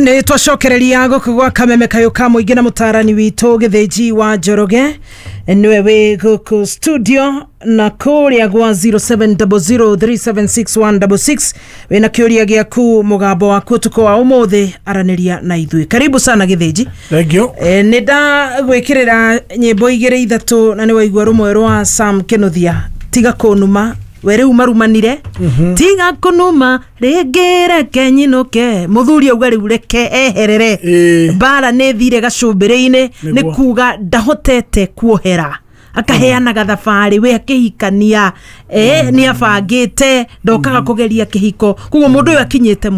Nĩ twacokereria gũkũ gwa Kameme Kayũ ka Mũingĩ na mũtarani witũ Gĩthĩnji wa Njoroge, nĩwe wĩ gũkũ studio na kũrĩa gwa 0700376166 wĩna kĩũria gĩaku, mũgambo waku ũtukũ wa ũmũthĩ, aranĩria na ithuĩ. Karibu sana, Gĩthĩnji. Thank you. Nĩ ndagwĩkĩrĩra nyĩmbo igĩrĩ ithatũ na nĩ waigua rũmwe rwa Sam Kĩnuthia, "Tiga Kũnuma". We rĩu marumanire, "Tiga kũnuma rĩngĩ, reke nyinũke". Mũthuri auga rĩu reke eherere. Mbara nĩ thire gacũmbĩrĩ-inĩ, nĩ kuga ndahotete kuohera, akaheanaga thabarĩ we akĩhikania, nĩ abangĩte ndokaga kũgeria kĩhiko. Koguo mũndũ ũyũ akinyĩte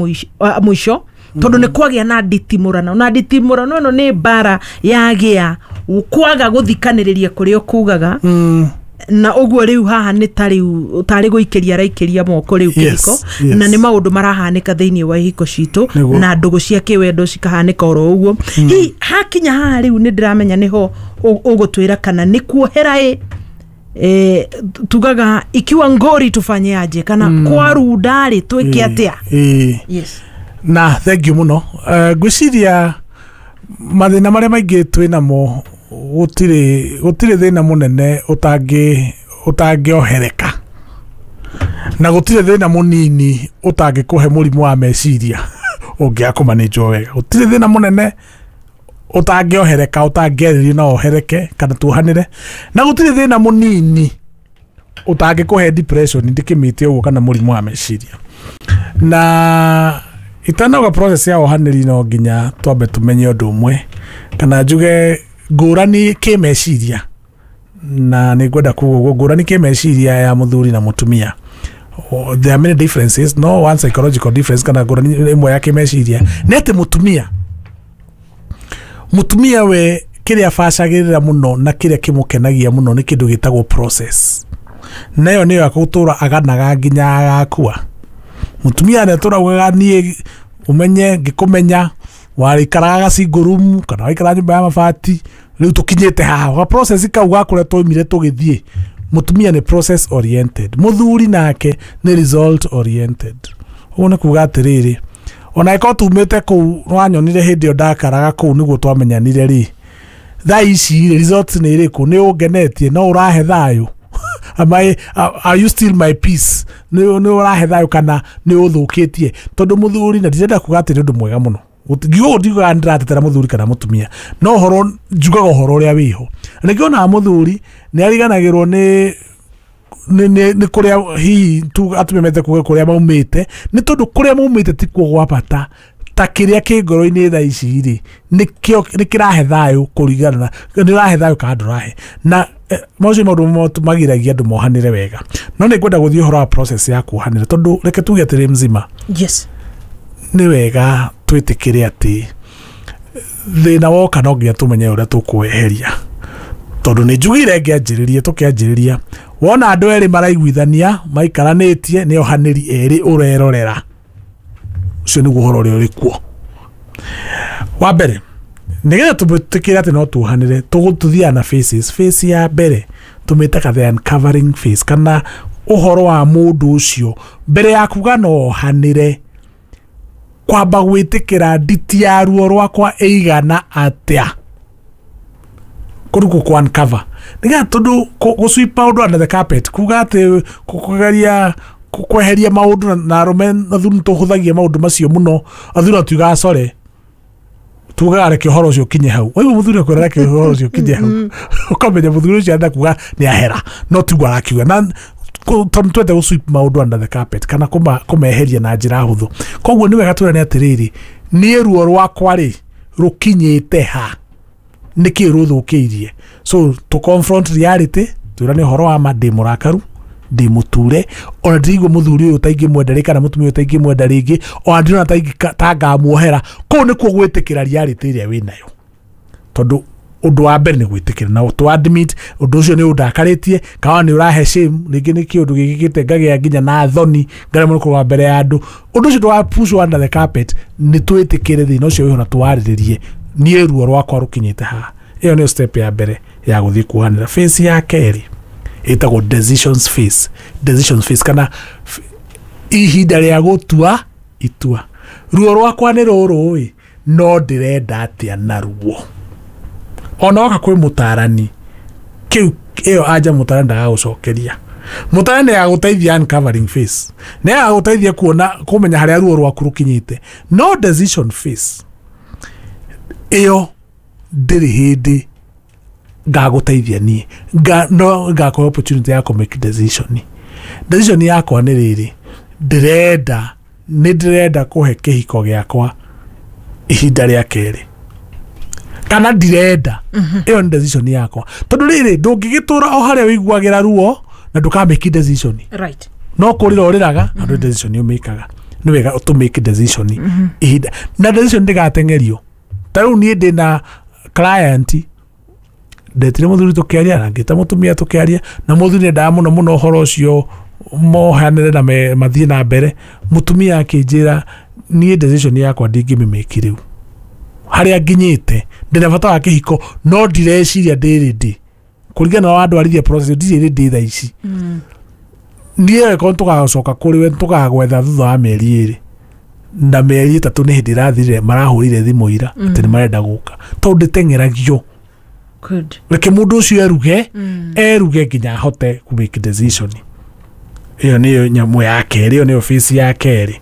mũico tondũ nĩ kwagĩa na nditimũrano, na nditimũrano ĩno nĩ mbara yagĩa kwaga gũthikanĩrĩria kũrĩa ũkugaga. Na ũguo rĩu haha nĩ ta rĩu tarĩ gũikĩria araikĩria moko rĩu kĩhiko. Na nĩ maũndũ marahanĩka thĩinĩ wa ihiko citũ na ndũgũ cia kĩwendo cikahanĩka oro ũguo. Hihi hakinya haha rĩu nĩ ndĩramenya nĩho ũgũtwĩra kana nĩ kuohera ĩ, tugaga ikiwa ngori tufanye aje, kana kwarunda rĩ twĩke atĩa? Yes. Na thank you muno. Ngwĩciria mathĩna marĩa maingĩ twĩ namo, gũtirĩ thĩna mũnene ũtangĩohereka na gũtirĩ thĩna mũnini ũtangĩkũhe mũrimũ wa meciria ũngĩaga kũmanĩnjwo wega. Gũtirĩ thĩna mũnene ũtangĩohereka, ũtangĩarĩrio na ohereke kana tuohanĩre, na gũtirĩ thĩna mũnini ũtangĩkũhe depression, ndĩkĩmĩte ũguo, kana mũrimũ wa meciria. Na itanauga process ya ohanĩri, no nginya twambe tũmenye ũndũ ũmwe, kana njuge ngũrani kĩmeciria, na nĩ ngwenda kuga ũguo, ngũrani kĩmeciria ya mũthuri na mũtumia. Oh, there are many differences. No one psychological difference kana ngũrani ĩmwe ya kĩmeciria nĩ atĩ mũtumia we kĩrĩa abacagĩrĩra mũno na kĩrĩa kĩmũkenagia mũno nĩ kĩndũ gĩtagwo process, nayo nĩyo akũtũra aganaga nginya agakua. Mũtumia nĩ atũraugaga, "Niĩ ũmenye ngĩkũmenya warĩikaraga gacingle room kana waikaraga nyũmba ya mabati, rĩu tũkinyĩte haha." Ga process kau ga kũrĩa twaumire tũgĩthiĩ. Mũtumia nĩ process oriented, mũthuri nake nĩ result oriented. Ũguo nĩ kuga atĩrĩrĩ, ona ĩkorwo tumĩte kũu wanyonire hĩndĩ ĩyo ndakaraga kũu nĩguo twamenyanire rĩ, thaa ici rĩ, results nĩ ĩrĩkũ? Nĩ ũngenetie? No ũrahe thayũ? Are you still my peace? Nĩ ũrahe thayũ kana nĩ ũthũkĩtie? Tondũ mũthuri, na ndirenda kuga atĩ nĩ ũndũ mwega mũno, ngiuga ndiugaga ndĩratetera mũthuri kana mũtumia, no ũhoro njugaga ũhoro ũrĩa wĩho. Na nĩkĩo onaga mũthuri nĩ ariganagĩrwo nĩ kũrĩa hihi tu atumia mete kuga kũrĩa maumĩte, nĩ tondũ kũrĩa maumĩte tikuo gwa bata ta kĩrĩa kĩ ngoro-inĩ thaa ici rĩ, nĩkĩo nĩ kĩrahe thayũ, kũringana na nĩ ũrahe thayũ kana ndũrahe. Na macio maũndũ magiragia andũ mohanĩre wega. No nĩ ngwenda gũthiĩ ũhoro wa process ya kuohanĩra, tondũ reke tuge atĩrĩ, mzima, nĩ wega twĩtĩkĩre atĩ thĩna woka no nginya tũmenye ũrĩa tũkweheria, tondũ nĩ njugire ngĩanjĩrĩria, tũkĩanjĩrĩria, wona andũ erĩ maraiguithania maikaranĩtie, nĩ ohanĩri erĩ ũrerorera. Ũcio nĩguo ũhoro ũrĩa ũrĩ kuo. Wa mbere, nĩgetha tũmĩtĩkĩre atĩ no tuohanĩre, tũthiaga na phases. Phase ya mbere tũmĩtaga the uncovering phase, kana ũhoro wa mũndũ ũcio mbere ya kuga no ohanĩre, kwamba gwĩtĩkĩra nditi ya ruo rwakwa ĩigana atĩa, kũu kũ uncover, nĩgetha tondũ gũ sweep maũndũ under the carpet, kuga atĩ kũgeria kweheria maũndũ, na arũme na athuri nĩtũhũthagia maũndũ macio mũno. Athuri atuigaga core, tugaga reke ũhoro ũcio ũkinye hau. Waigua mũthuri akwĩra reke ũhoro ũcio ũkinye hau, ũkamenya mũthuri ũcio arenda kuga nĩ ahera, no tiguo arakiuga. Na tondũ twende gũ sweep maũndũ under the carpet kana kũmeheria na njĩra hũthũ. Koguo nĩ wega twĩrane atĩrĩrĩ, niĩ ruo rwakwa rĩ rũkinyĩte ha? Nĩkĩ rũthũkĩirie? So to confront reality, twĩrane ũhoro wa ma: ndĩ mũrakaru, ndĩ mũture, ona ndiraigua mũthuri ũyũ ta ingĩmwenda rĩ, kana mũtumia ũyũ ta ingĩmwenda rĩngĩ, ona ndirona ta ngamuohera. Kũu nĩkuo gwĩtĩkĩra reality ĩrĩa wĩnayo, tondũ ũndũ wa mbere nĩ gwĩtĩkĩra na to admit ũndũ ũcio nĩ ũndakarĩtie, kana nĩ ũrahe shame, rĩngĩ nĩ kĩũndũ gĩkĩkĩte ngagĩa nginya na thoni, ngaremwo nĩ kũrũga mbere ya andũ. Ũndũ ũcio ndũga push under the carpet, nĩ twĩtĩkĩre thĩna ũcio wĩho na twarĩrĩrie, niĩ ruo rwakwa rũkinyĩte haha. Ĩyo nĩyo step ya mbere ya gũthiĩ kuohanĩra. Phase ya kerĩ ĩtagwo decisions phase, decisions phase, kana ihinda rĩa gũtua itua. Ruo rwakwa nĩ rũrũ ĩ, No ndĩrenda atĩa na ruo. Ona woka kwĩ mũtarani kĩu ĩyo anja mũtarani ndagagũcokeria. Mũtarani nĩ agagũteithia uncovering face, nĩ agagũteithia kuona kũmenya harĩa ruo rwaku rũkinyĩte. No decision phase ĩyo ndĩrĩ hĩndĩ ngagũteithia niĩ. No ngakũhe opportunity ya kũ make decision. Decision yakwa nĩ rĩrĩ, ndĩrenda nĩ ndĩrenda kũhe kĩhiko gĩakwa ihinda rĩa kerĩ kana ndirenda. Ĩyo nĩ decision yakwa, tondũ rĩrĩ ndũngĩgĩtũra o harĩa ũiguagĩra ruo na ndũkamake decision. No kũrĩra ũrĩraga na ndũrĩ decision ũmĩkaga. Nĩ wega tũ make decision ihinda na decision ndĩgateng'erio. Ta rĩu niĩ ndĩna client, ndetire mũthuri tũkĩaria na ngĩta mũtumia tũkĩaria, na mũthuri nĩendaga mũno mũno ũhoro ũcio mohanĩre na mathiĩ na mbere. Mũtumia akĩnjĩra, niĩ decision yakwa ndingĩmĩmĩki rĩu harĩa nginyĩte, ndĩna bata wa kĩhiko no ndireciria ndĩ ready kũringana na wandwarithia process, ndirĩ ready thaa ici. Niĩ angĩkorwo tũgacoka kũrĩ we tũgagwetha thutha wa mĩeri 2 na mĩeri 3 nĩ hĩndĩ ĩrathirire, marahũrire thimũ ira atĩ nĩ marenda gũka, tondũ ndĩteng'eragio. Reke mũndũ ũcio eruge, eruge nginya ahote kũ make decision. Ĩyo nĩyo nyamũ ya kerĩ, ĩyo nĩyo phase ya kerĩ.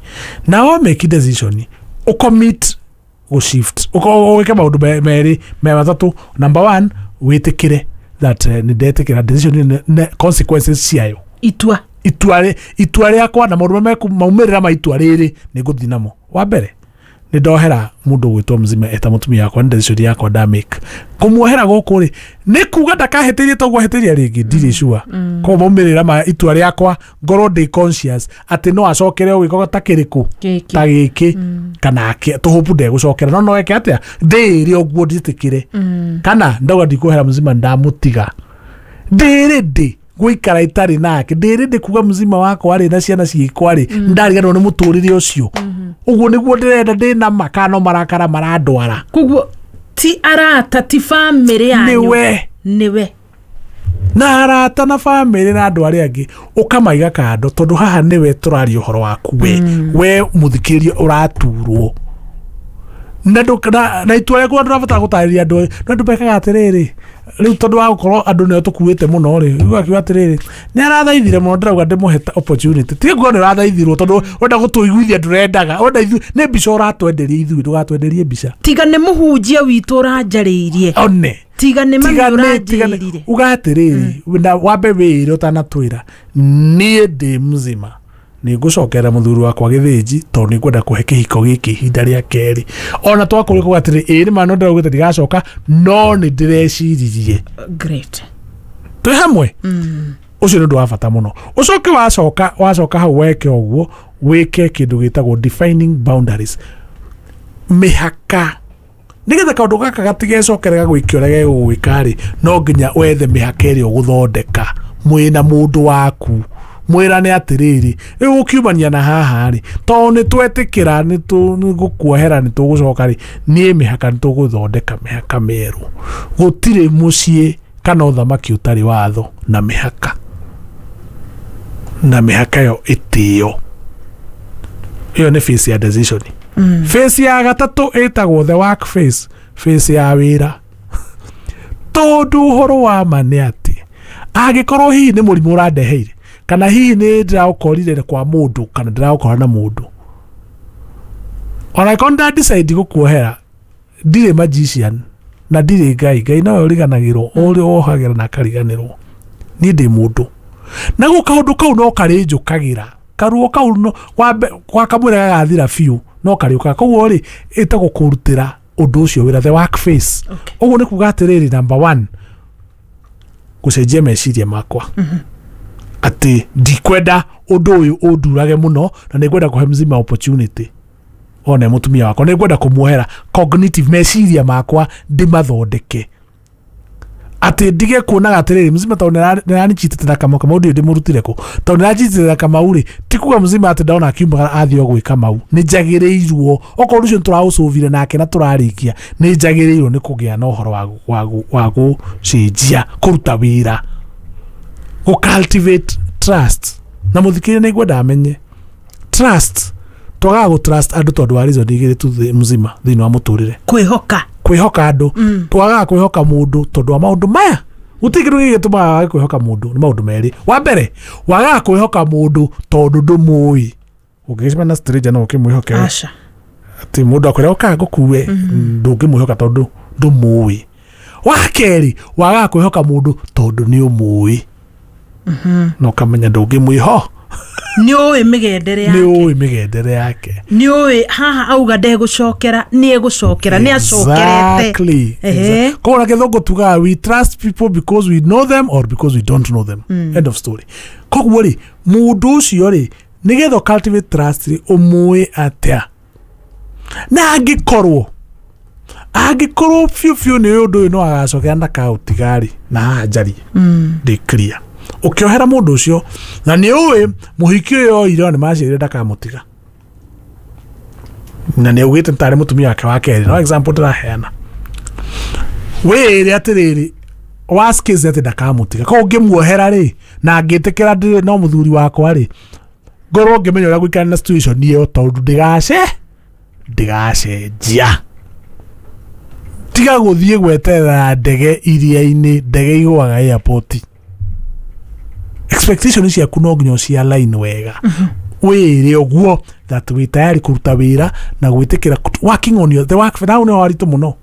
Na wa make decision, ũcommit gũshift, ũke maũndũ merĩ me matatũ. Number one, wĩtĩkĩre that nĩ ndetĩkĩra decision consequences ciayo. Itua. Itua rĩakwa na maũndũ marĩa maumĩrĩra ma itua rĩrĩ nĩ ngũthiĩ namo. Wa mbere, nĩ ndohera mũndũ ũgwĩtwo mzima eta mũtumia wakwa, nĩ decision yakwa ndamake. Kũmuohera gũkũ rĩ, nĩ kuga ndakahĩtĩrie toguo ahĩtĩria rĩngĩ, ndirĩ sure. Koguo maumĩrĩra ma itua rĩakwa ngorwo ndĩ conscious atĩ no acokere o gĩko ta kĩrĩkũ? Gĩkĩ. Ta gĩkĩ kana tũhũpu ndegũcokera, no no eke atĩa ndĩĩre ũguo njĩtĩkĩre kana ndauga ndikuohera mzima, ndamũtiga, ndĩrĩ ndĩ gũikara itarĩ nake, ndĩrĩ ndĩ kuga mzima wakwa rĩ na ciana ciakwa rĩ ndariganĩrwo nĩ mũtũrĩre ũcio, ũguo nĩguo ndĩrenda, ndĩna ma kana no marakara marandwara. Koguo ti arata, ti bamĩrĩ yanyu. Nĩwe. Nĩwe. Na arata na bamĩrĩ na andũ arĩa angĩ ũkamaiga kando, tondũ haha nĩwe tũraria ũhoro waku we mũthikĩrĩria ũraturwo na na itua rĩaku ndũrabatara gũtarĩria andũ. No andũ mekaga atĩrĩrĩ rĩu, tondũ wa gũkorwo andũ nĩo tũkuĩte mũno rĩ, rĩu akiuga atĩrĩrĩ, nĩ arathaithire mũno, ndĩrauga ndĩmũhe opportunity. Tiga kuga nĩ ũrathaithirwo tondũ ũrenda gũtũiguithia ndũrendaga, ũrenda ithuĩ nĩ mbica ũratwenderia, ithuĩ ndũgatwenderie mbica. Tiga nĩ mũhunjia witũ ũranjarĩirie. One. Tiga nĩ mami Tiga nĩ tiga nĩ ũranjĩrire. Uga atĩrĩrĩ, na wambe wĩĩre ũtanatwĩra, niĩ ndĩ mzima nĩ ngũcokera mũthuri wakwa gĩthĩnji tondũ nĩ ngwenda kũhe kĩhiko gĩkĩ ihinda rĩa kerĩ. Ona twakũrĩ kuga atĩrĩ, ĩĩ nĩ ma no ndĩraugĩte ndigacoka, no nĩ ndĩreciririe. Great. Twĩ hamwe. Ũcio nĩ ũndũ wa bata mũno. Ũcoke wacoka hau weke ũguo, wĩke kĩndũ gĩtagwo defining boundaries, mĩhaka, nĩgetha kaũndũ gaka gatigecokere gagwĩke ũrĩa gegũgwĩka rĩ, no nginya wethe mĩhaka ĩrĩa ũgũthondeka mwĩna mũndũ waku, mwĩrane atĩrĩrĩ, rĩu ũkiumania na haha rĩ, tondũ nĩ twetĩkĩra nĩ gũkuohera nĩ tũgũcoka rĩ, niĩ mĩhaka nĩ tũgũthondeka mĩhaka mĩerũ. Gũtirĩ mũciĩ kana ũthamaki ũtarĩ watho na mĩhaka, na mĩhaka ĩyo ĩtĩo. Ĩyo nĩ phase ya decision. Phase ya gatatũ ĩtagwo the work phase, phase ya wĩra, tondũ ũhoro wa ma nĩ atĩ angĩkorwo hihi nĩ mũrimũ ũrandeheire, kana hihi nĩ ndĩraũkorire kwa mũndũ kana ndĩraũkora na mũndũ, ona angĩkorwo nĩ ndadecide gũkuohera, ndirĩ magician na ndirĩ Ngai. Ngai nowe ũriganagĩrwo, ũrĩa wohagĩra na akariganĩrwo. Niĩ ndĩ mũndũ, naguo kaũndũ kau no karĩnjũkagĩra, karuo kau no wambe kwa kamwĩra gagathira biũ no karĩũkaga. Koguo rĩ, ĩtagwo kũrutĩra ũndũ ũcio wĩra, the work phase. Ũguo nĩ kuga atĩrĩrĩ, number one, gũcenjia meciria makwa atĩ ndikwenda ũndũ ũyũ ũndurage mũno na nĩ ngwenda kũhe mzima opportunity one mũtumia wakwa, nĩ ngwenda kũmuohera. Cognitive, meciria makwa ndĩmathondeke atĩ ndige kuonaga atĩrĩrĩ, mzima tondũ nĩaranichitĩte na Kamau, Kamau ndirĩ ndĩmũrutire kũ, tondũ nĩaranjitĩte na Kamau rĩ, ti kuga mzima atĩ ndona akiumagara athiĩ o gwĩka mau. Nĩ njagĩrĩirwo okorwo ũndũ ũcio nĩtũraũcũvire nake na tũrarĩkia, nĩ njagĩrĩirwo nĩ kũgĩa na ũhoro wa gũcenjia, kũruta wĩra, gũ cultivate trust. Na mũthikĩrĩria nĩ ngwenda amenye trust Twagaga gũ trust andũ tondũ wa reason igĩrĩ tu mzima thĩinĩ wa mũtũrĩre. Kwĩhoka andũ. Twagaga kwĩhoka mũndũ tondũ wa maũndũ maya. Gũtirĩ kĩndũ gĩgĩtũmaga wage kwĩhoka mũndũ, nĩ maũndũ merĩ. Wa mbere, wagaga kwĩhoka mũndũ tondũ ndũmũĩ. Ũngĩgĩcemania na stranger no ũkĩmwĩhoke. Aca. Atĩ mũndũ akwĩra ũka ngũkue, ndũngĩmwĩhoka tondũ ndũmũĩ. Wa kerĩ, wagaga kwĩhoka mũndũ tondũ nĩ ũmũĩ. Na ũkamenya ndũngĩmwĩho. Nĩ ũĩ mĩgendere yake. Nĩ ũĩ mĩgendere yake. Nĩ ũĩ haha auga ndegũcokera, nĩ egũcokera, nĩ acokerete. Exactly. Koguo na gĩthũngũ tugaga we trust people because we know them or because we don't know them. End of story. Koguo rĩ, mũndũ ũcio rĩ, nĩgetha cultivate trust rĩ, ũmũĩ atĩa? Na angĩkorwo biũ biũ nĩ ũndũ ũyũ no agacokera ndakaũtiga rĩ, na haha njarie. Ndĩ clear. Ũkĩohera mũndũ ũcio na nĩ ũĩ mũhiki ũyũ oire nĩ maciarire ndakamũtiga, na nĩ augĩte tarĩ mũtumia wake wa kerĩ. No example ndĩraheana, wĩĩre atĩrĩrĩ, worst case atĩ ndakamũtiga. Koguo ngĩmuohera rĩ, na ngĩtĩkĩra ndĩrĩ no mũthuri wakwa rĩ, ngorwo ngĩmenya ũrĩa gũikara na situation ĩyo tondũ ndĩgacenjia. Tiga gũthiĩ gweterera ndege iria-inĩ, ndege igũaga airport. Expectation ciaku no nginya cia line wega. Wĩre ũguo that wĩ tayari kũruta wĩra na gwĩtĩkĩra working on your the work now nĩ waritũ mũno.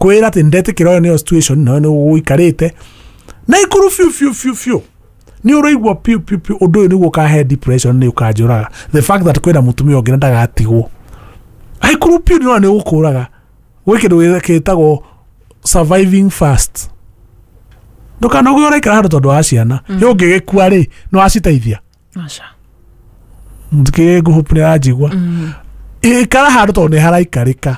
Kwĩra atĩ ndetĩkĩra ũyũ nĩyo situation na nĩ ũikarĩte na ikũrũ biũ biũ biũ biũ. Nĩ ũraigua piũ piũ piũ ũndũ ũyũ nĩguo ũkahe depression, nĩ ũkanjũraga. The fact that kwĩna mũtumia ũngĩ na ndagatigwo. Aikũrũ piũ nĩ ũgũkũraga. Gwĩ kĩndũ gĩtagwo surviving fast. Ndũkanoge ũraikara handũ tondũ wa ciana. Yo ũngĩgĩkua rĩ, no aciteithia. Aca. Ndikĩ ngũhũpu nĩ aranjigua. Ikara handũ tondũ nĩ haraikarĩka.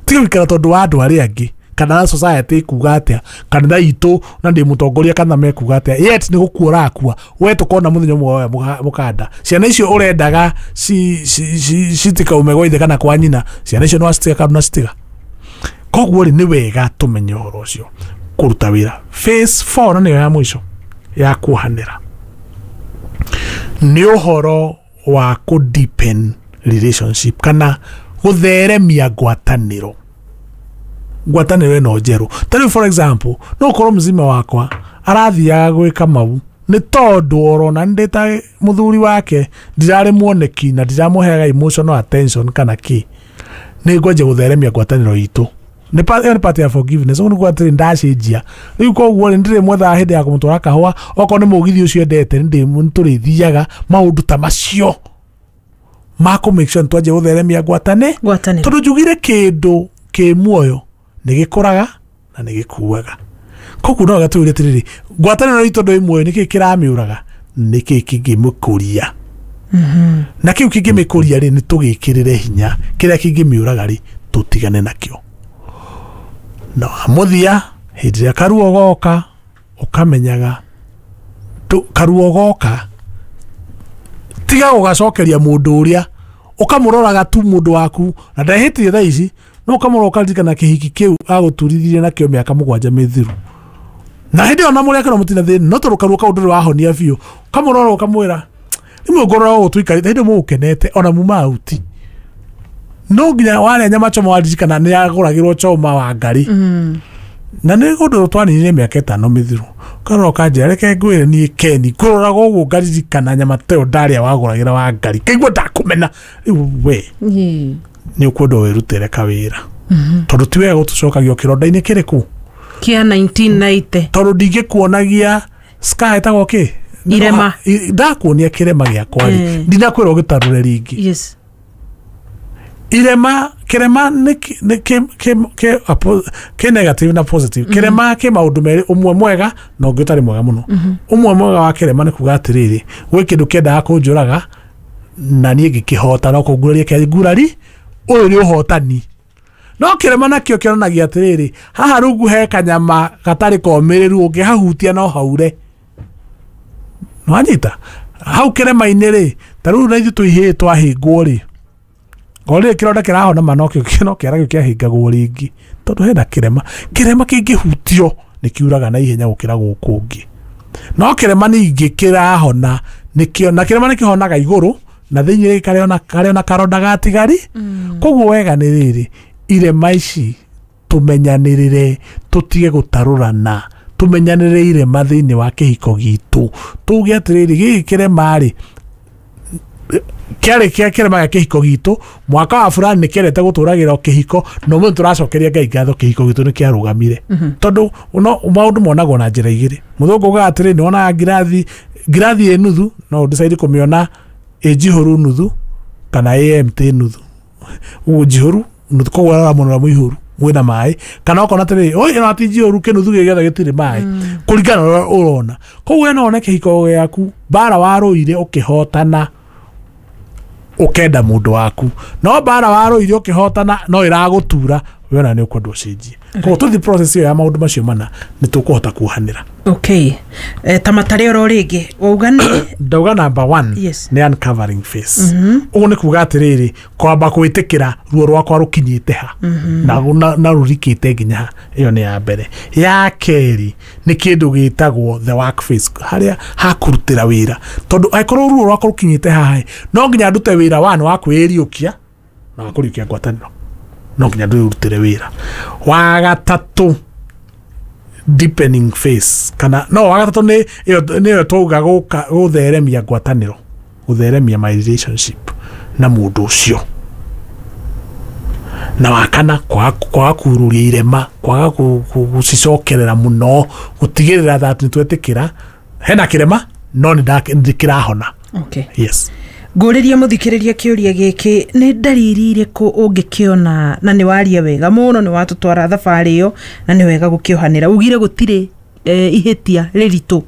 Tiga gũikara tondũ wa andũ arĩa angĩ, kana society ĩkuga atĩa, kanitha itũ na ndĩ mũtongoria kana mekuga atĩa. Yet nĩ gũkua ũrakua. We tũkona mũthenya ũmwe woya mũkanda. Ciana icio ũrendaga citikaume gwa ithe kana kwa nyina, ciana icio no acitiga kana ndũnacitiga. Koguo rĩ, nĩ wega tũmenye ũhoro ũcio. Kũruta wĩra. Phase 4 na nĩyo ya mũico ya kuohanĩra nĩ ũhoro wa kũ deepen relationship kana gũtheremia ngwatanĩro. Ngwatanĩro ĩno njerũ. Ta rĩu for example, no ũkorwo mzima wakwa arathiaga gwĩka mau nĩ tondũ orona ndĩ ta mũthuri wake ndirarĩ muoneki na ndiramũheaga emotional attention kana kĩ, nĩ ngwanjia gũtheremia ngwatanĩro itũ. Nĩ ĩyo nĩ part ya forgiveness. Ũguo nĩguo atĩrĩ ndacenjia rĩu, koguo rĩ ndĩrĩmwethaga hĩndĩ ya kũmũtwara kahũa, okorwo nĩ mũgithi ũcio endete nĩtũrĩthiaga. Maũndũ ta macio ma kũ make sure nĩtwanjia gũtheremia Ngwatanĩro. Tondũ njugire kĩndũ kĩ muoyo nĩ gĩkũraga na nĩ gĩkuaga. Koguo no gatũire atĩrĩrĩ, ngwatanĩro itũ tondũ ĩ muoyo, nĩkĩ kĩramĩũraga, nĩkĩ kĩngĩmĩkũria, na kĩu kĩngĩmĩkũria rĩ, nĩ tũgĩkĩrĩre hinya, kĩrĩa kĩngĩmĩũraga rĩ, tũtigane nakĩo. Na mũthia hĩndĩ ĩrĩa karuo goka ũkamenyaga karuo goka, tiga gũgacokeria mũndũ ũrĩa ũkamũroraga tu mũndũ waku na ndehĩtire thaa ici, no ũkamũrora ũkaririkana kĩhiki kĩu agũturithirie nakĩo mĩaka 7 mĩthiru, na hĩndĩ ĩyo na mũrĩ akĩrwo mũtina thĩna, no tondũ karuo kau ndũrĩ wahonia biũ, ũkamũrora ũkamwĩra rĩmwe ngorora ũguo tũikarĩte hĩndĩ mũgũkenete ona muma auti, no nginya warĩa nyama choma waririkana nĩ agũragĩrwo choma wa ngari. Na nĩ ũndũ twaninire mĩaka 5 mĩthiru, ũkarora ũkanjĩra reke ngwĩre niĩ Keni ngũroraga ũguo ngaririkana nyama ta ĩyo ndarĩa wagũragĩra wa ngari, kaigua ndakũmena. Rĩu we nĩ ũkwenda wĩrutĩre kawĩra, tondũ ti wega gũtũcokagia kĩronda-inĩ kĩrĩkũ kĩa 1990, tondũ ndingĩkuonagia scar ĩtagwo kĩ, Irema. Ndakuonia kĩrema gĩakwa rĩ, ndinakwĩra ũgĩtarũre rĩngĩ. Yes. Irema, kĩrema nĩ kĩ negative na positive. Kĩrema kĩ maũndũ merĩ, ũmwe mwega na ũngĩ ũtarĩ mwega mũno. Ũmwe mwega wa kĩrema nĩ kuga atĩrĩrĩ, gwĩ kĩndũ kĩendaga kũnjũraga na niĩ ngĩkĩhota, no kũnguraria kĩangurari, ũyũ nĩ ũhotani. No kĩrema nakĩo kĩonanagia atĩrĩrĩ, haha rungu he kanyama gatarĩ komĩrĩru, ũngĩhahutia no haure. Nĩwanyita? Hau kĩrema-inĩ rĩ, ta rĩu na ithuĩ tũihĩĩ twahĩngwo rĩ, ngorire kĩronda kĩrahona ma no kĩara kĩu kĩahĩngagwo rĩngĩ, tondũ hena kĩrema. Kĩrema kĩngĩhutio nĩ kiuraga na ihenya gũkĩra gũkũ ũngĩ. No kĩrema ningĩ kĩrahona nĩkĩo, na kĩrema nĩkĩhonaga igũrũ Na thĩinĩ karĩ ona karonda gatigari. Koguo wega nĩ rĩrĩ, irema ici tũmenyanĩrĩre, tũtige gũtarũrana, tũmenyanĩrĩre irema thĩinĩ wa kĩhiko gitũ. Tuge atĩrĩrĩ, gĩkĩ kĩrema rĩ, kĩarĩ kĩa kĩrema gĩa kĩhiko gitũ, mwaka wa fulani nĩ kĩendete gũtũragĩra kĩhiko, no mũndũ tũracokeria Ngai ngatho kĩhiko gitũ nĩ kĩarũgamire. Tondũ no maũndũ monagwo na njĩra igĩrĩ. Mũthũngũ ugaga atĩrĩ, nĩ wonaga ngirathi ĩ nuthu, no ũdecide kũmĩona ĩ njihũru nuthu kana ĩ empty nuthu. Ũguo njihũru nuthu, koguo ũrarora mwena ũrĩa mũihũru mwĩna maĩ, kana ũkona atĩrĩrĩ, oi ĩno ti njihũru, kĩnuthu gĩkĩ gĩothe gĩtirĩ maĩ, kũringana na ũrĩa ũrona. Koguo we no wone kĩhiko gĩaku mbara warũire ũkĩhotana ũkenda mũndũ waku, no mbara warũire ũkĩhotana no ĩragũtura, we ona nĩ ũkwenda ũcenjie. Koguo tũthiĩ process ĩyo ya maũndũ macio mana, nĩ tũkũhota kuohanĩra. Okay, ta matarĩ oro rĩngĩ wauga nĩ Ndauga number 1 Yes. nĩ uncovering face. Ũguo nĩ kuga atĩrĩrĩ, kwamba gwĩtĩkĩra ruo rwakwa rũkinyĩte ha na rũrikĩte nginya ha. Ĩyo nĩ ya mbere. Ya kerĩ nĩ kĩndũ gĩtagwo the work phase, harĩa hakũrutĩra wĩra, tondũ angĩkorwo ruo rwakwa rũkinyĩte haha, no nginya ndute wĩra one wa kwĩriũkia na wa kũriũkia ngwatanĩro, no nginya ndĩrutĩre wĩra. Wa gatatũ, deepening phase, kana no wa gatatũ nĩ ĩyo twauga gũtheremia ngwatanĩro, gũtheremia my relationship na mũndũ ũcio. Na wa kana, kwaga kururia irema, kwaga gũcicokerera mũno, gũtigĩrĩra that nĩ twetĩkĩra hena kĩrema no nĩ kĩrahona. Okay. Yes. Ngũrĩrie mũthikĩrĩria kĩũria gĩkĩ, nĩ ndariri irĩkũ ũngĩkĩona, na nĩ waria wega mũno, nĩ watũtwara thabarĩ ĩyo, na nĩ wega gũkĩohanĩra. Ugire gũtirĩ ihĩtia rĩritũ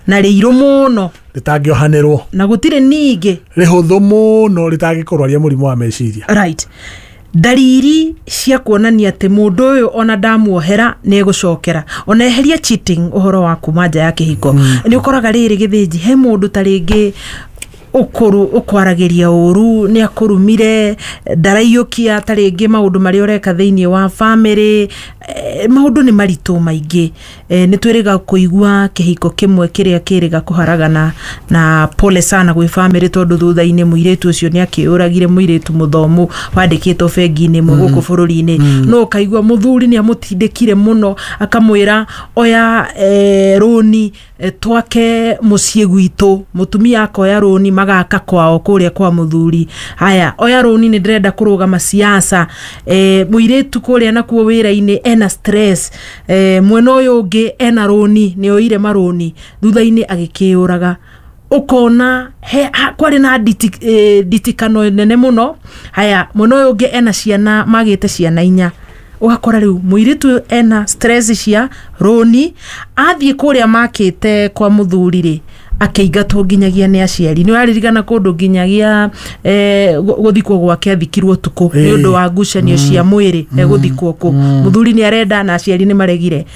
na rĩirũ mũno rĩtangĩohanĩrwo, na gũtirĩ ningĩ rĩhũthũ mũno rĩtangĩkũrwaria mũrimũ wa meciria. Right. Ndariri cia kuonania atĩ mũndũ ũyũ ona ndamuohera nĩ egũcokera, ona eheria cheating, ũhoro wa kuma nja ya kĩhiko, nĩ ũkoraga rĩrĩ gĩthĩnji he mũndũ ta rĩngĩ ũkwaragĩria ũru, nĩ akũrumire, ndaraiyũkia ta rĩngĩ maũndũ marĩa ũreka thĩinĩ wa family, maũndũ nĩ maritũ maingĩ. Nĩ twĩrĩga kũigua kĩhiko kĩmwe kĩrĩa kĩrĩga kũharagana, na pole sana gwĩ family, tondũ thutha-inĩ mũirĩtu ũcio nĩ akĩũragire, mũirĩtu mũthomu wandĩkĩtwo bengi-inĩ ĩmwe gũkũ bũrũri-inĩ. No ũkaigua mũthuri nĩ amũtindĩkire mũno, akamwĩra oya rũni, twake mũciĩ gwitũ, mũtumia akoya rũni magaka kwao kũrĩa kwa mũthuri. Haya, oya rũni, nĩ ndĩrenda kũrũgama siasa. Mũirĩtu kũrĩa nakuo wĩra-inĩ ena stress, mwena ũyũ ũngĩ ena rũni, nĩ oire marũni, thutha-inĩ agĩkĩũraga. Ũkona kwarĩ na nditikano nene mũno. Haya, mwena ũyũ ũngĩ ena ciana, magĩte ciana 4. Ũgakora rĩu mũirĩtu ena stress cia rũni, athiĩ kũrĩa makĩte kwa mũthuri rĩ, akĩingatwo nginyagia nĩ aciari. Nĩ ũraririkana kũndũ nginyagia gũthikwo gwake athikirwo ũtukũ nĩ ũndũ wa ngucanio cia mwĩrĩ, egũthikwo kũ, mũthuri nĩ arenda na aciari nĩ maregire.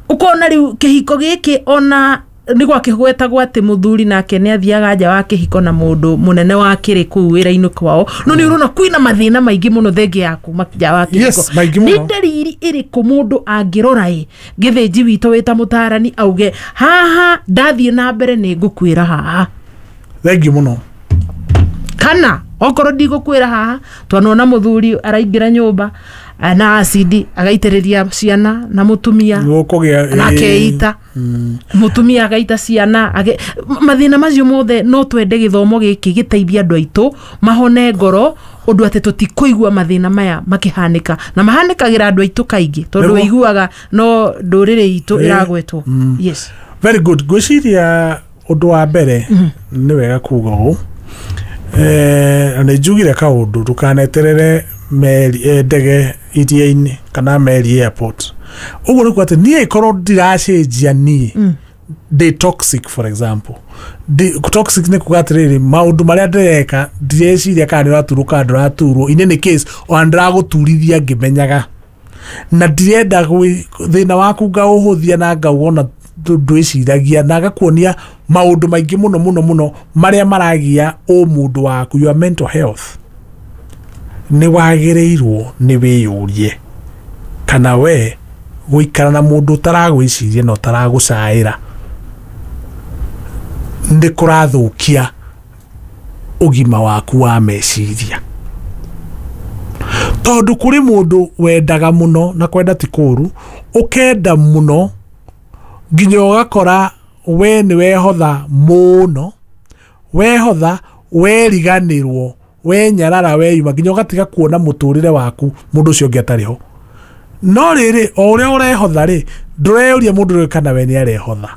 Ũkona rĩu kĩhiko gĩkĩ ona nĩ gwakĩgwetagwo atĩ mũthuri nake nĩ athiaga nja wa kĩhiko na mũndũ mũnene wa kĩrĩ kũu wĩra-inĩ kwao, no nĩ ũrona kwĩna mathĩna maingĩ mũno thengia ya kuma nja wa kĩhiko. Yes, maingĩ mũno. Nĩ ndariri ĩrĩkũ mũndũ angĩrora ĩ gĩthĩnji witũ wĩta mũtarani auge haha ndathiĩ na mbere nĩ ngũkuĩra haha? Thengiũ mũno. Kana okorwo ndigũkuĩra haha, twanona mũthuri araingĩra nyũmba na acidi agaitĩrĩria ciana na mũtumia na akeita, mũtumia agaita ciana, mathĩna macio mothe. No twende gĩthomo gĩkĩ gĩteithie andũ aitũ mahone ngoro, ũndũ atĩ tũtikũigua mathĩna maya makĩhanĩka, na mahanĩkagĩra andũ aitũ kaingĩ, tondũ ũiguaga no ndũrĩrĩ itũ ĩragwetwo. Yes. Very good. Ngwĩciria ũndũ wa mbere nĩ wega kuga ũũ, nĩ njugire kaũndũ, ndũkaneterere meri ndege iria-inĩ kana meri airport. Ũguo nĩ kuga atĩ niĩ korwo ndiracenjia niĩ ndĩ toxic, for example. Toxic nĩ kuga atĩrĩrĩ, maũndũ marĩa ndĩreka ndireciria kana nĩ ũraturwo kana ndũraturwo, in any case ona ndĩragũturithia ngĩmenyaga, na ndirenda thĩna waku ngaũhũthia na ngauona ndwĩciragia, na ngakuonia maũndũ maingĩ mũno mũno mũno marĩa maragia ũmũndũ waku, your mental health. Nĩ wagĩrĩirwo nĩ wĩyũrie kana we gũikara na mũndũ ũtaragwĩciria na ũtaragũcaĩra nĩ kũrathũkia ũgima waku wa meciria. Tondũ kũrĩ mũndũ wendaga mũno, na kwenda ti kũũru, ũkenda mũno nginya ũgakora we nĩ wehotha mũno, wehotha weriganĩrwo, wenyarara, weyuma, nginya ũgatiga kuona mũtũrĩre waku mũndũ ũcio ũngĩ atarĩ ho. No rĩrĩ, o ũrĩa ũrehotha rĩ, ndũreyũria mũndũ ũrĩa kana we nĩ arehotha.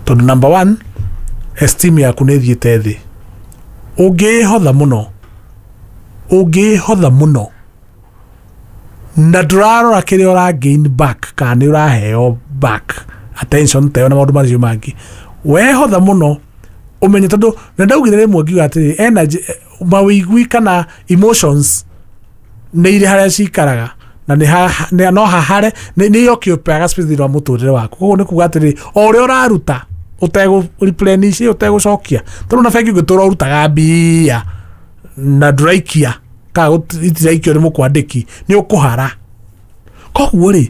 Tondũ number one, esteem yaku nĩ ĩthiĩte thĩ. Ũngĩhotha mũno, ũngĩhotha mũno na ndũrarora kĩrĩa ũra gain back kana nĩ ũraheo back attention ta ĩyo na maũndũ macio mangĩ, wehotha mũno ũmenye, tondũ na ndaugire rĩmwe ngiuga atĩrĩ, energy, mawĩigui kana emotions nĩ irĩ harĩa cikaraga na nĩ no hahare nĩ occupyaga space thĩinĩ wa mũtũrĩre waku. Koguo nĩ kuga atĩrĩ, o ũrĩa ũraruta ũtegũ replenish, ũtegũcokia, tondũ na bengi ũngĩtũra ũrutaga mbia na ndũraikia kana itiraikio nĩ mũkwandĩki, nĩ ũkũhara. Koguo rĩ,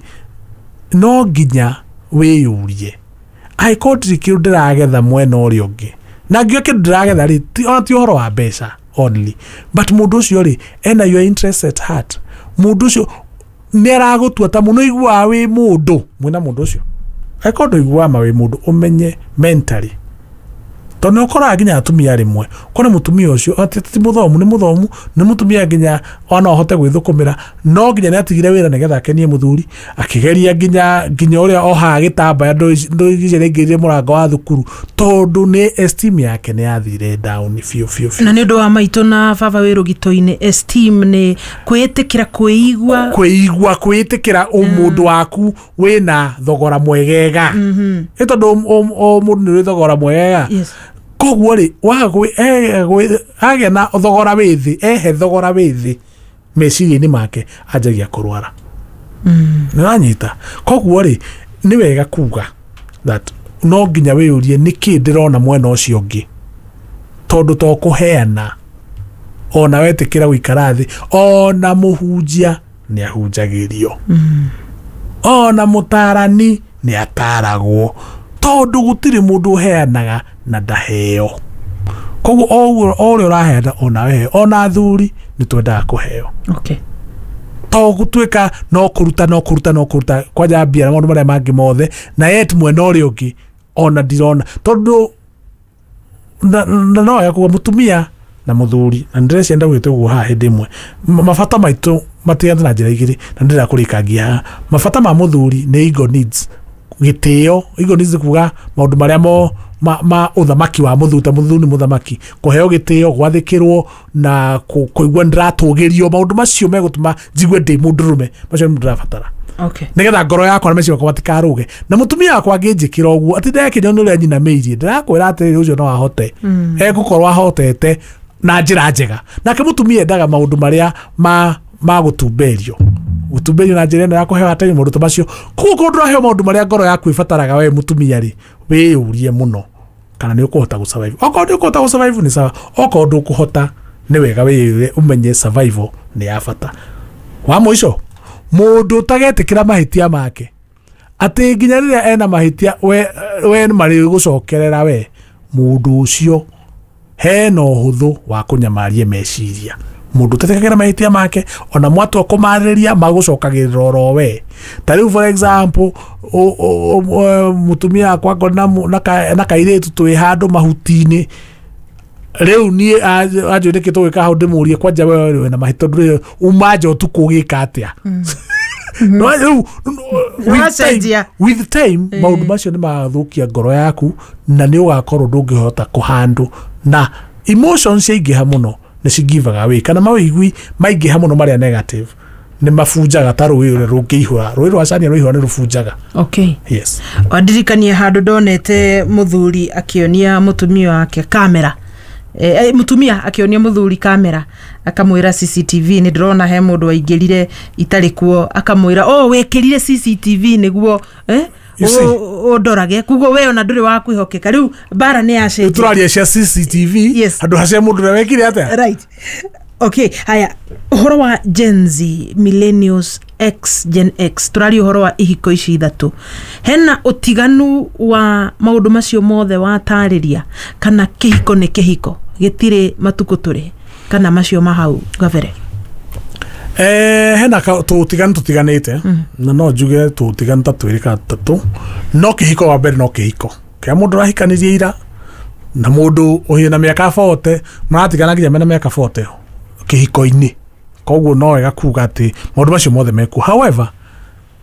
no nginya wĩyũrie, angĩkorwo ndirĩ kĩndũ ndĩragetha mwena ũrĩa ũngĩ, na ngiuga kĩndũ ndĩragetha rĩ, ona ti ũhoro wa mbeca only, but mũndũ ũcio rĩ, ena your interest at heart. Mũndũ ũcio nĩ aragũtua ta mũno, iguaga wĩ mũndũ mwĩna mũndũ ũcio. Angĩkorwo ndũiguaga ma wĩ mũndũ, ũmenye mentally, tondũ nĩ ũkoraga nginya atumia rĩmwe, kũrĩ mũtumia ũcio atĩ ti mũthomu, nĩ mũthomu, nĩ mũtumia nginya ona ahote gwĩthũkũmĩra, no nginya nĩ atigire wĩra nĩgetha akenie mũthuri, akĩgeria nginya ũrĩa ohaga gĩtambaya ndũigĩrĩire mũrango wa thukuru, tondũ nĩ esteem yake nĩ yathire down biũ biũ biũ. Na nĩ ũndũ wa maitũ na baba wĩ rũgito-inĩ, esteem nĩ kwĩĩtĩkĩra, kwĩigua, kwĩigua, kwĩĩtĩkĩra ũmũndũ waku wĩna thogora mwegega. Ĩ tondũ o mũndũ nĩ ũrĩ thogora mwegega. Yes. Koguo rĩ, agĩa na thogora wĩ thĩ, ehe thogora wĩ thĩ meciria-inĩ make, anjagia kũrwara. Nĩ wanyita? Koguo rĩ, nĩ wega kuga that no nginya wĩyũrie nĩkĩ ndĩrona mwena ũcio ũngĩ, tondũ to kũheana ona wetĩkĩra gũikara thĩ, ona mũhunjia nĩ ahunjagĩrio, ona mũtarani nĩ ataragwo, tondũ gũtirĩ mũndũ ũheanaga na ndaheo. Koguo o ũrĩa ũraheana ona weheo, ona athuri nĩ twendaga kũheo. Okay. To gũtuĩka no kũruta no kũruta no kũruta kwanja mbia na maũndũ marĩa mangĩ mothe, na yet mwena ũrĩa ũngĩ ona ndirona, tondũ na no ya kuga mũtumia na mũthuri, na ndĩreciria ndaugĩte ũguo haha hĩndĩ ĩmwe, mabata maitũ matiganĩte na njĩra igĩrĩ, na ndĩrenda kũrĩkangia haha. Mabata ma mũthuri nĩ ego needs, gĩtĩo. Ego needs nĩ kuga maũndũ marĩa mo ma ũthamaki wa mũthuri, ta mũthuri nĩ mũthamaki, kũheo gĩtĩo, gwathĩkĩrwo na kũigua nĩndĩratũgĩrio, maũndũ macio megũtũma njigue ndĩ mũndũrũme, macio nĩmo ndĩrabatara. Okay. Nĩgetha ngoro yakwa na meciria makwa matikarũge. Na mũtumia wakwa angĩnjĩkĩra ũguo, atĩ ndekĩnywo nĩ ũrĩa nyinamĩirie, ndĩrakwĩra atĩrĩrĩ, ũcio no ahote. Egũkorwo ahotete na njĩra njega. Nake mũtumia endaga maũndũ marĩa ma gũtumberio, gũtumberio na njĩra ĩno ya kũheo atĩ maũndũ ta macio. Koguo korwo ndũraheo maũndũ marĩa ngoro yaku ĩbataraga we mũtumia rĩ, wĩyũrie mũno kana nĩ ũkũhota gũ survive. Okorwo nĩ ũkũhota gũ survive nĩ sawa, okorwo ndũkũhota nĩ wega wĩyũrie ũmenye survival nĩ ya bata. Wa mũico, mũndũ ũtagetĩkĩra mahĩtia make, atĩ nginya rĩrĩa ena mahĩtia we marĩ gũcokerera we, mũndũ ũcio hena ũhũthũ wa kũnyamaria meciria. Mũndũ ũtetĩkagĩra mahĩtia make, ona mwatua kũmarĩrĩria magũcokagĩrĩra oro we. Ta rĩu for example, mũtumia wakwa ngorwo na kairĩtu twĩ handũ mahuti-inĩ, rĩu niĩ anjũĩ nĩkĩ tũgwĩka hau, ndĩmũrie kwanja we wĩna mahĩtia, ndũrĩ uma nja ũtukũ ũgĩka atĩa? No, rĩu, Nĩwacenjia. with time maũndũ macio nĩ magathũkia ngoro yaku, na nĩ ũgakorwo ndũngĩhota kũhandũ, na emotions ciaingĩha mũno nĩ cigivaga way, kana mawĩigui maingĩha mũno marĩa negative nĩ mabunjaga, ta rũĩ rũrĩa rũngĩihũra, rũĩ rwa Cania rwaihũra nĩ rũbunjaga. Okay. Yes. Wandirikania handũ ndonete mũthuri akĩonia mũtumia wake kamera, mũtumia akĩonia mũthuri kamera, akamwĩra CCTV nĩ ndĩrona he mũndũ waingĩrire itarĩ kuo, akamwĩra oh wĩkĩrire CCTV nĩguo You see? ũndorage, koguo we ona ndũrĩ wa kwĩhokeka. Rĩu mbara nĩ yacenjia. Tũraria cia CCTV. Yes. Handũ hacia mũndũ ũrĩa wekire atĩa. Right. Okay, haya, ũhoro wa Gen Z, millennials X, Gen X, tũraria ũhoro wa ihiko ici ithatũ. Hena ũtiganu wa maũndũ macio mothe watarĩria, kana kĩhiko nĩ kĩhiko gĩtirĩ matukũ tũrĩ, kana macio ma hau gabere? Hena tũtiganu tũtiganĩte, na no njuge tũtiganu ta twĩrĩ kana tũtatũ. No kĩhiko wa mbere no kĩhiko kĩa mũndũ ũrahikanirie ira na mũndũ ũhĩ na mĩaka 40 maratigana nginya mena mĩaka 40 kĩhiko-inĩ. Koguo no wega kuga atĩ maũndũ macio mothe mekuo. However,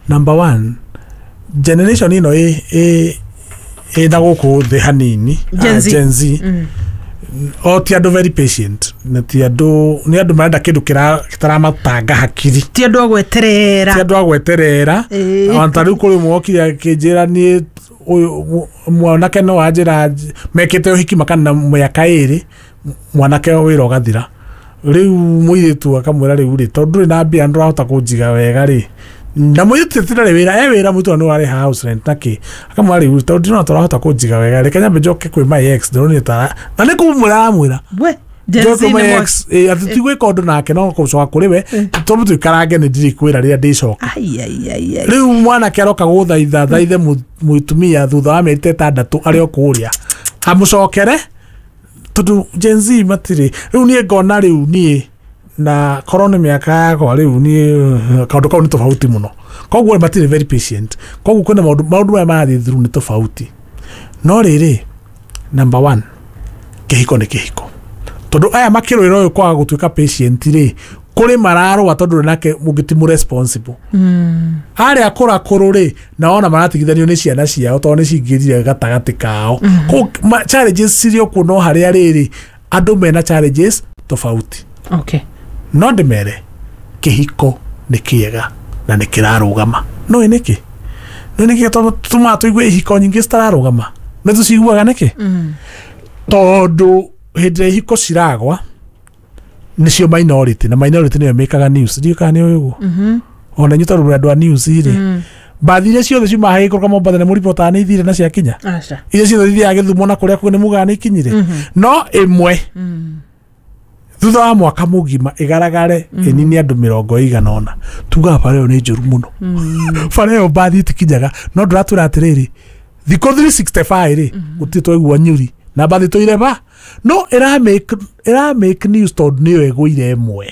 number one, generation ĩno ĩ na gũkũ thĩ hanini, Gen Z. Gen Z, o ti andũ very patient, na ti andũ, nĩ andũ marenda kĩndũ gĩtaramatanga hakiri. Ti andũ a gweterera. Ti andũ a gweterera. Ona ta rĩu kũrĩ ũmwe wokire akĩnjĩra niĩ ũyũ mwanake no anjĩra mekĩte ũhiki makana mĩaka 2, mwanake wĩra ũgathira. Rĩu mũirĩtu akamwĩra rĩu rĩ, tondũ ndũrĩ na mbia ndũrahota kũnjiga wega rĩ, na mũirĩtu ti ndarĩ wĩra, e wĩra mũirĩtu nĩ warĩha house rent na kĩ, akamwĩra rĩu tondũ ndĩrona tũrahota kũnjiga wega, reke nyambe njoke kwĩ my ex, ndĩronire ta na nĩ kũmwĩra aramwĩra we Gen Z njoke nĩ my mwaki. ex, atĩ ti gwĩka ũndũ nake no gũcoka kũrĩ we, tondũ tũikarange nĩ ndirĩ kwĩra rĩrĩa ndĩcoka. Ai, ai, ai, ai. Rĩu mwanake aroka gũthaitha thaithe mũtumia thutha wa mĩeri ta 6 arĩ o kũrĩa amũcokere, tondũ Gen Z matirĩ. Rĩu niĩ ngona rĩu niĩ na korwo nĩ mĩaka yakwa rĩu niĩ kaũndũ kau nĩ tofauti mũno, koguo matirĩ very patient. Koguo kwĩna maũndũ maya marathiĩ through nĩ tofauti. No rĩrĩ, number one, kĩhiko nĩ kĩhiko, tondũ aya makĩrũĩra ũyũ kwaga gũtuĩka patient rĩ, kũrĩ mararũa tondũ nake mũngĩ ti mũ responsible. Arĩa kũrakũrũ rĩ, na ona maratigithanio nĩ ciana ciao tondũ nĩ cingĩrire gatagatĩ kao. Koguo challenges cirĩ o kuo, no harĩa rĩrĩ andũ mena challenges tofauti. No ndĩmere kĩhiko nĩ kĩega na nĩ kĩrarũgama. No ĩ nĩkĩ? No nĩkĩ tũmaga tũigue ihiko nyingĩ citararũgama? Nĩ tũciguaga nĩkĩ? Tondũ hĩndĩ ĩrĩa ihiko ciragwa nĩcio minority, na minority nĩyo ĩmĩkaga news. Ndiũĩ kana nĩ ũĩ ũguo. Ona inyuĩ tondũ mũrĩ andũ a news rĩ, mbathi iria ciothe ciumaga gĩikũrũka Mombatha nĩ mũribotaga nĩ ithire na ciakinya? Aca. Iria ciothe ithiaga Gĩthumo na kũrĩa kũngĩ nĩ mugaga nĩ ikinyire? No ĩmwe thutha wa mwaka mũgima ĩgaragare ĩnini andũ 80, tugaga bara ĩyo nĩ njũru mũno, bara ĩyo mbathi itikinyaga. No ndũratwĩra atĩrĩrĩ, thikũ 365 rĩ, gũtirĩ twaigua nyuri na mbathi tũire ba, no ĩra make news tondũ nĩyo ĩgũire ĩmwe.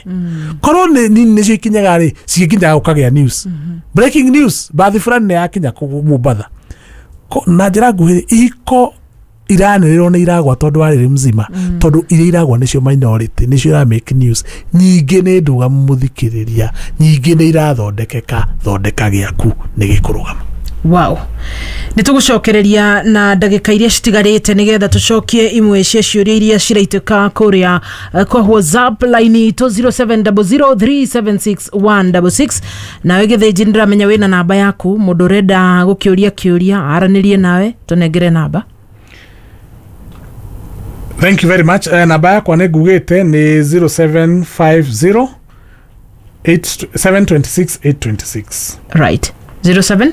Korwo nĩ nini nĩcio ikinyaga rĩ, cigĩkinyaga gũkagĩa news, breaking news, mbathi fulani nĩ yakinya Mombatha. Na njĩra nguhĩ, ihiko iranĩrĩrwo nĩ iragwa tondũ wa rĩrĩ mzima, tondũ iria iragwa nĩcio minority, nĩcio ira make news. Nyingĩ nĩ ndũgamu mũthikĩrĩria, nyingĩ nĩ irathondekeka. Thondeka gĩaku nĩ gĩkũrũgama. Wow, nĩ tũgũcokereria na ndagĩka iria citigarĩte nĩgetha tũcokie imwe cia ciũria iria ciraitĩka kũrĩa kwa WhatsApp line itũ 0700376166. Nawe Gĩthĩnji, nĩndĩramenya wĩna namba yaku, mũndũ ũrenda gũkĩũria kĩũria aranĩrie nawe, tũnengere namba. Thank you very much. Namba yakwa nĩ ngugĩte nĩ 0750 726 826. Right, 07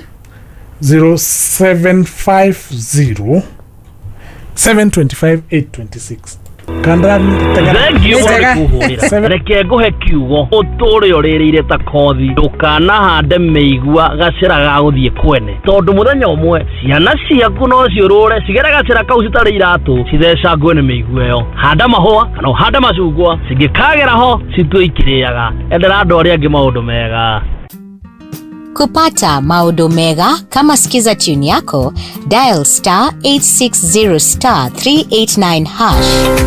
0750 725 826. Kandra. Thengiũ Njega. kũhũrĩra. Reke ngũhe kiugo ũtũre ũrĩrĩire ta kothi, ndũkanahande mĩigua gacĩra ga gũthiĩ kwene, tondũ mũthenya ũmwe ciana ciaku no ciũrũre cigere gacĩra kau citarĩ iratũ, cithecangwe nĩ mĩigua ĩyo. Handa mahũa kana ũhande macungwa, cingĩkagera ho citue ikĩrĩaga. Endera andũ arĩa angĩ maũndũ mega. Kupata Maodo Mega kama Skiza tune yako, dial star 860 star 389 hash.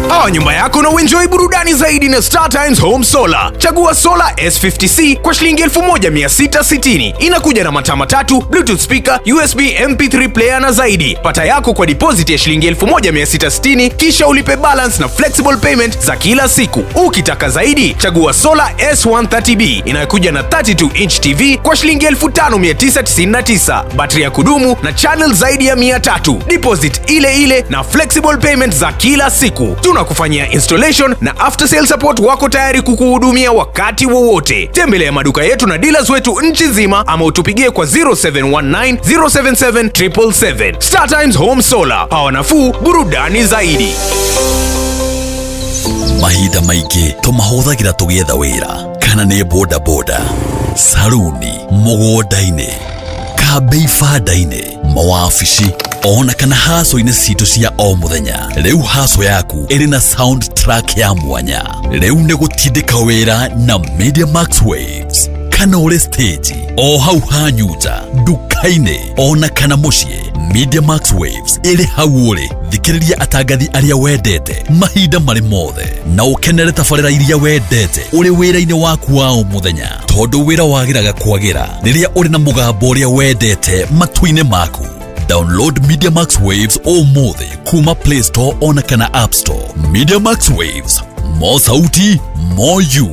Pawa nyumba yako na uenjoy burudani zaidi na Star Times Home Solar. Chagua solar S50C kwa shilingi 1660. Inakuja na mataa matatu, Bluetooth speaker, USB MP3 player na zaidi. Pata yako kwa deposit ya shilingi 1660 kisha ulipe balance na flexible payment za kila siku. Ukitaka zaidi, chagua solar S130B inayokuja na 32 inch TV kwa shilingi 5999. Battery ya kudumu na channel zaidi ya 300. Deposit ile ile na flexible payment za kila siku. Tunakufanyia installation na after sale support, wako tayari kukuhudumia wakati wowote. Tembelea maduka yetu na dealers wetu nchi nzima ama utupigie kwa 0719 077 777. Star Times Home Solar, pawa nafuu, burudani zaidi. Mahinda maingĩ tũmahũthagĩra tũgĩetha wĩra kana Kana nĩ bodaboda, saruni, mũgũnda-inĩ, kambĩ, ibanda-inĩ, mawabici, ona kana haco-inĩ citũ cia o mũthenya, rĩu haco yaku ĩrĩ na sound track ya mwanya. Rĩu nĩ gũtindĩka wĩra na Media Max Waves. Kana ũrĩ stage o hau hanyu nja, nduka-inĩ, ona kana mũciĩ, Media Max Waves ĩrĩ hau ũrĩ. Thikĩrĩria atangathi arĩa wendete mahinda marĩ mothe na ũkenere tabarĩra iria wendete ũrĩ wĩra-inĩ waku wa o mũthenya, tondũ wĩra wagĩraga kwagĩra rĩrĩa ũrĩ na mũgambo ũrĩa wendete matũ-inĩ maku. Download Media Max Waves ũmũthĩ kuma Play Store ona kana App Store. Media Max Waves, more sauti, more you.